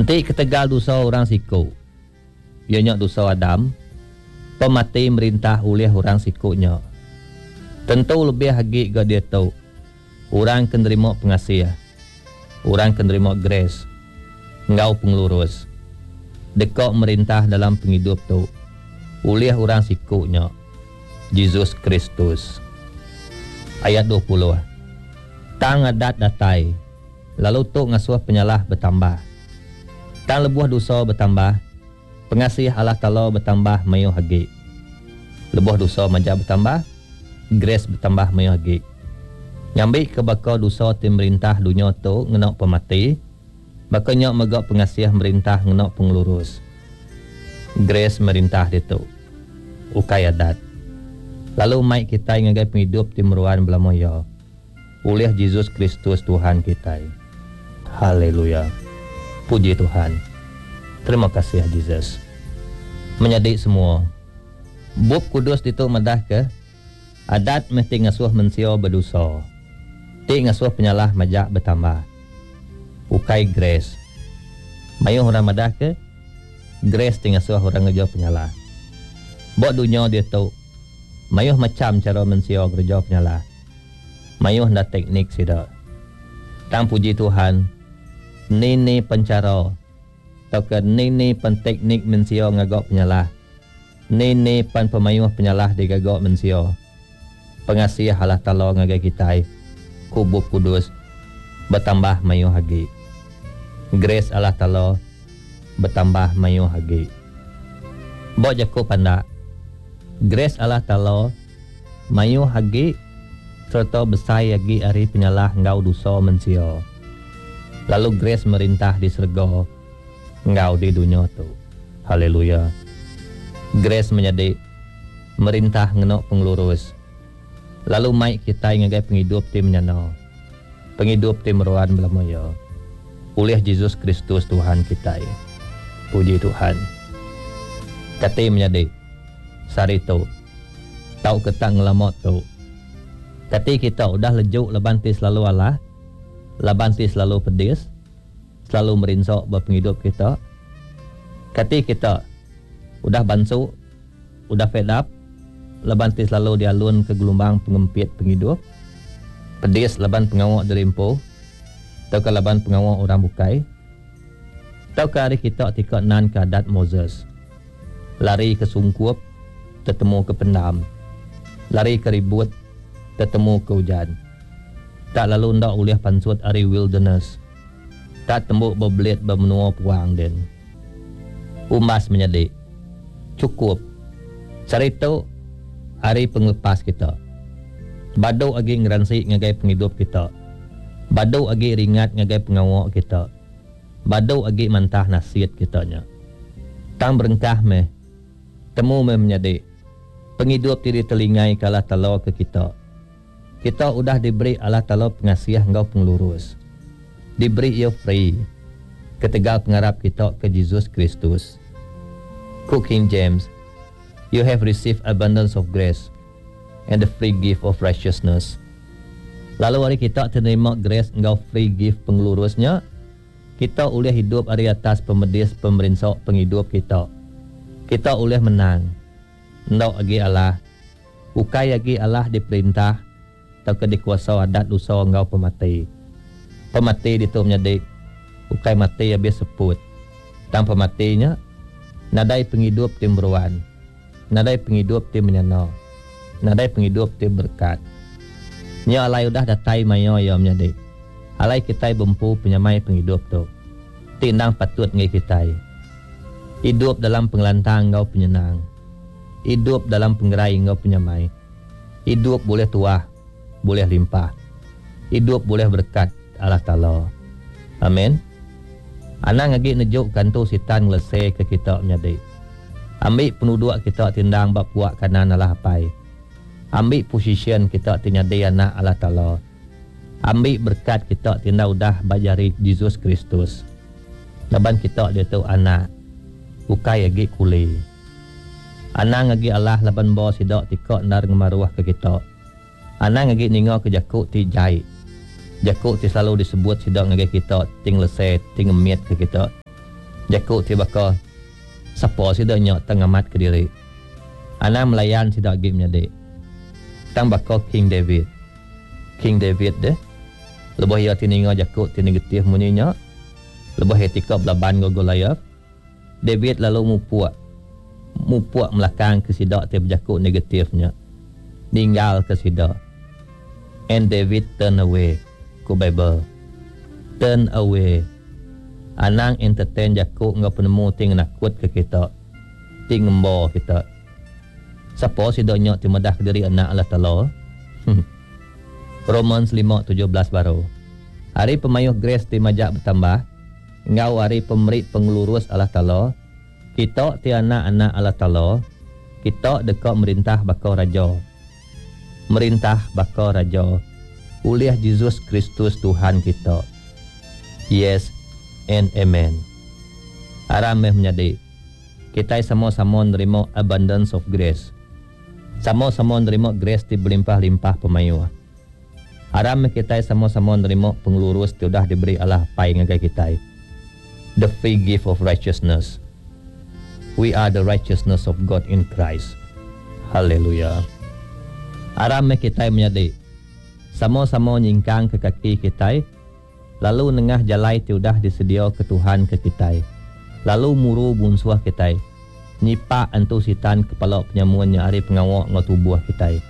Enti ketegal dosa orang siku, iya nya dosa Adam, pemati merintah ulih orang siku nya. Tentu lebih agi ga diatu, orang ke nerima pengasih, orang ke nerima grace enggau pengelurus, deka merintah dalam pengidup tu ulih orang siku nya, Jesus Kristus. Ayat 20. Tang adat datai, lalu tu ngasuh penyalah betambah. Tang lebuh dosa betambah, pengasih Allah Taala betambah mayuh agi. Lebuh dosa majak betambah, grace betambah mayuh agi. Ngambika baka dosa ti merintah dunya tu ngena pemati, baka nya mega pengasih merintah ngena pengelurus. Grace merintah ditu, ukai adat. Lalu mai kitai ngagai pengidup ti meruan belama iya. Ulih Jesus Kristus Tuhan kitai. Haleluya. Puji Tuhan. Terima kasih Jesus. Menyadi semua. Bup Kudus ditu madahka, Adat meh ti ngasuh mensia bedosa, ti ngasuh penyalah majak betambah. Ukai grace. Mayuh orang madahka, grace ti ngasuh orang ngereja penyalah. Ba dunya diatu, mayuh macham chara mensia ngereja penyalah. Mayuh enda teknik sida. Tang puji Tuhan, ni ni pen chara tauka ni ni pen teknik mensia ngaga penyalah, ni ni pen pemayuh penyalah digaga mensia, pengasih Allah Taala ngagai kitai, ku Bup Kudus, betambah mayuh agi. Grace Allah Taala betambah mayuh agi. Ba jaku pandak, grace Allah Taala Mayuh agi sereta besai agi ari penyalah enggau dosa mensia. Lalu grace merintah di serega enggau di dunya tu. Haleluya. Grace menyadi merintah ngena pengelurus lalu mai kitai ngagai pengidup ti menyana, pengidup ti meruan belama iya ulih Jesus Kristus Tuhan kitai. Puji Tuhan. Kati menyadi sehari tu. Tauka tak ngelama tu. Kati kita udah lejuk laban ti selalu alah? Laban ti selalu pedis? Selalu merinsa ba pengidup kita? Kati kita udah bansu, udah fed up laban ti selalu dialunka gelumbang pengempit pengidup? Pedis laban pengawa diri empu tauka laban pengawa orang bukai? Tauka ari kita ti ka nanka adat Moses? Lari ke sungkup, tetemu ke pendam. Lari ke ribut, tetemu ke ujan. Tak lalu enda ulih pansut ari wilderness. Tak tembu bebelit ba menua puang din. Umbas menyadi. Chukup. Sehari tu, hari pengelepas kita. Badu agi ngeransi ngagai pengidup kita. Badu agi ringat ngagai pengawa kita. Badu agi mantah nasit kita nya. Tang berengkah meh. Temu meh menyadi. Pengidup ti ditelingaika Allah Taala ke kita. Kita udah diberi Allah Taala pengasih enggau pengelurus. Diberi Iya free, ketegal pengarap kita ke Jesus Kristus. Ku King James, You have received abundance of grace and the free gift of righteousness. Lalu ari kita ti nerima grace enggau free gift pengelurus nya, kita ulih idup ari atas pemedis pemerinsa pengidup kita. Kita ulih menang. Enda agi alah. Ukai agi alah diperintah tauka dikuasa adat dosa enggau pemati. Pemati ditu menyadi ukai mati abis seput. Tang pemati nya nadai pengidup ti meruan. Nadai pengidup ti menyana. Nadai pengidup ti berekat. Nya alai udah datai maya iya menyadi. Alai kitai bempu penyamai pengidup tu, ti endang patut enggai kitai. Idup dalam pengelantang enggau penyenang. Idup dalam pengerai enggau penyamai. Idup bulih tuah, bulih limpah. Idup bulih berekat Allah Taala. Amen. Anang agi nejuka antu sitan ngeleseka kita menyadi. Ambi penuduk kita ti endang ba puak kanan Allah Apai. Ambi posisyen kita ti nyadi anak Allah Taala. Ambi berekat kita ti enda udah ba jari Jesus Kristus. Laban kita diatu anak, ukai agi kuli. Anang agi alah laban ba sida ti ka endar ngemaruhka kita. Anang agi ningaka jaku ti jai, jaku ti selalu disebut sida ngagai kita ti ngelese, ti ngemitka kita. Jaku ti baka, Sapa sida nya tang ngamatka diri? Anang melayan sida agi menyadi. Tang baka King David. King David deh, lebuh iya ti ninga jaku ti negatif munyi nya, lebuh iya tika belaban enggau Goliath, David lalu mupuk, mupuk melakangka sida ti bejaku negatif nya, ninggalka sida. And David turned away, ku Bible. Turn away. Anang entertain jaku enggau penemu ti ngenakutka kita, ti ngemba kita. Sapa sida nya ti madahka diri anak Allah Taala? Romans 5:17 baru. Ari pemayuh grace ti majak betambah, enggau ari pemeri pengelurus Allah Taala, kita ti anak-anak Allah Taala, kita deka merintah baka raja. Merintah baka raja ulih Jesus Kristus Tuhan kita. Yes and amen. Aram meh menyadi, kitai sama-sama nerima abundance of grace. Sama-sama nerima grace ti belimpah-limpah pemayuh. Aram meh kitai sama-sama nerima pengelurus ti udah diberi Allah Apai ngagai kitai, the free gift of righteousness. We are the righteousness of God in Christ. Haleluya. Aram meh kitai menyadi, sama-sama nyingkangka kaki kitai lalu nengah jalai ti udah disediaka Tuhan ke kitai, lalu muru munsuh kitai, nyipak entu Sitan kepala penyamun nya ari pengawa enggau tubuh kitai,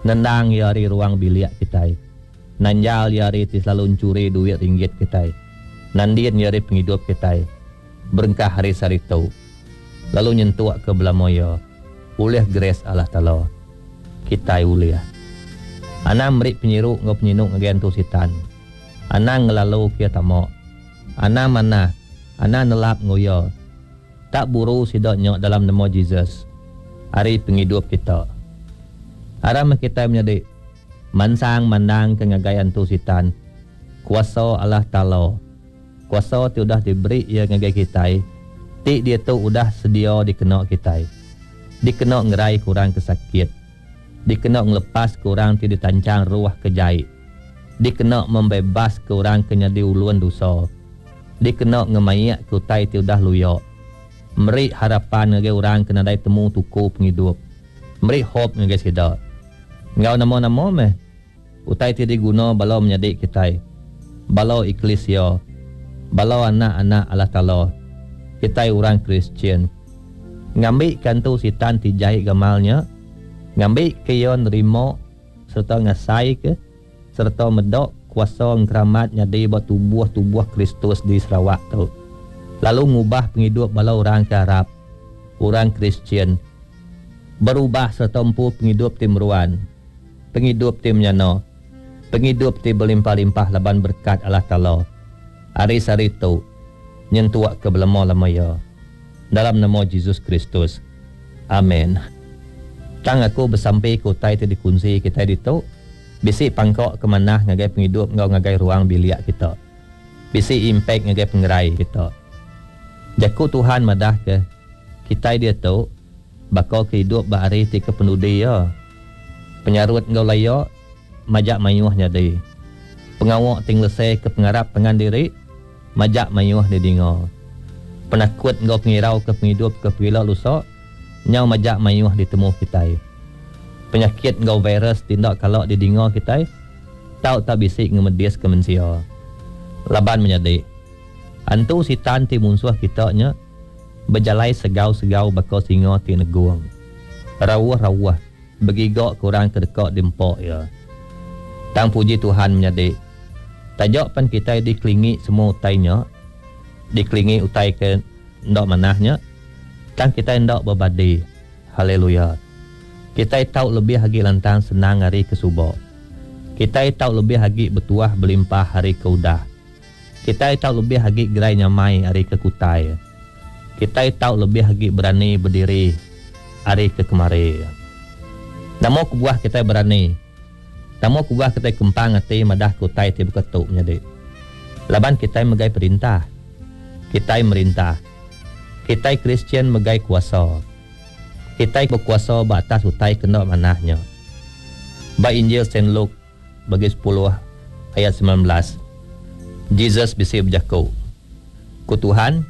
nendang iya ari ruang bilik kitai, nanjal iya ari ti selalu enchuri duit ringgit kitai, nandin iya ari pengidup kitai, berengkah ari sehari tu, lalu nyentukka belama iya, ulih grace Allah Taala. Kitai ulih. Anang meri penyiru enggau penyinu ngagai antu Sitan. Anang ngelalu ke iya tama. Anang manah, anang nelap enggau iya. Tak buru sida nya dalam nama Jesus ari pengidup kita. Aram meh kitai menyadi mansang mandangka ngagai antu Sitan kuasa Allah Taala, kuasa ti udah diberi Iya ngagai kitai ti diatu udah sedia dikena kitai, dikena ngeraika orang ke sakit. Dikena ngelepaska orang ti ditanchang ruh ke jai. Dikena membebaska orang ke nyadi ulun dosa. Dikena ngemaikka utai ti udah luya. Meri harapan ngagai orang ke nadai temu tuku pengidup. Meri hope ngagai sida. Enggau nama-nama meh utai ti diguna bala menyadi kitai, bala eklisia, bala anak-anak Allah Taala, kitai orang Kristian. Ngambika entu Sitan ti jai gamal nya, ngambika iya nerima sereta ngasaika sereta meda kuasa engkeramat nyadi ba tubuh-tubuh Kristus di Sarawak tu, lalu ngubah pengidup bala orang ke arap, orang Kristian, berubah sereta empu pengidup ti meruan, pengidup ti menyana, pengidup ti belimpah-limpah laban berekat Allah Taala ari sehari tu nyentuk ke belama-lama iya. Dalam nama Jesus Kristus. Amen. Tang aku besampi ke utai ti dikunsi kitai ditu bisi pangka ke manah ngagai pengidup enggau ngagai ruang bilik kita. Bisi impact ngagai pengerai kita. Jaku Tuhan madah ke kitai diatu baka ke idup ba hari ti kepenudi iya. Penyarut enggau laya majak mayuh nyadi. Pengawa ti ngelese ke pengarap pangan diri majak mayuh didinga. Penakut enggau pengirau ke pengidup ke pegila lusa nyau majak mayuh ditemu kitai. Penyakit enggau virus ti enda kala didinga kitai tau tak bisi ngemediska mensia. Laban menyadi, antu sitan ti munsuh kita nya bejalai segau-segau baka singa ti negung. Rauh-rauh begiga ke orang ke deka diempa iya. Tang puji Tuhan menyadi, taja pen kitai dikelingi semua utai nya, dikelingi utai ke enda manah nya, tang kitai enda bebadi. Haleluya! Kitai tau lebih agi lantang senang ari ke suba. Kitai tau lebih agi betuah belimpah ari ke udah. Kitai tau lebih agi gerai nyamai ari ke kutai. Kitai tau lebih agi berani bediri ari ke kemari. Nama kebuah kitai berani? Nama kebuah kitai kempang ati madahka utai ti baka tu menyadi? Laban kitai megai perintah. Kitai merintah. Kitai Kristian megai kuasa. Kitai bekuasa ba atas utai ke enda manah nya. Ba Injil Saint Luke bagi sepuluh ayat 19, Jesus bisi bejaku, Ku Tuhan.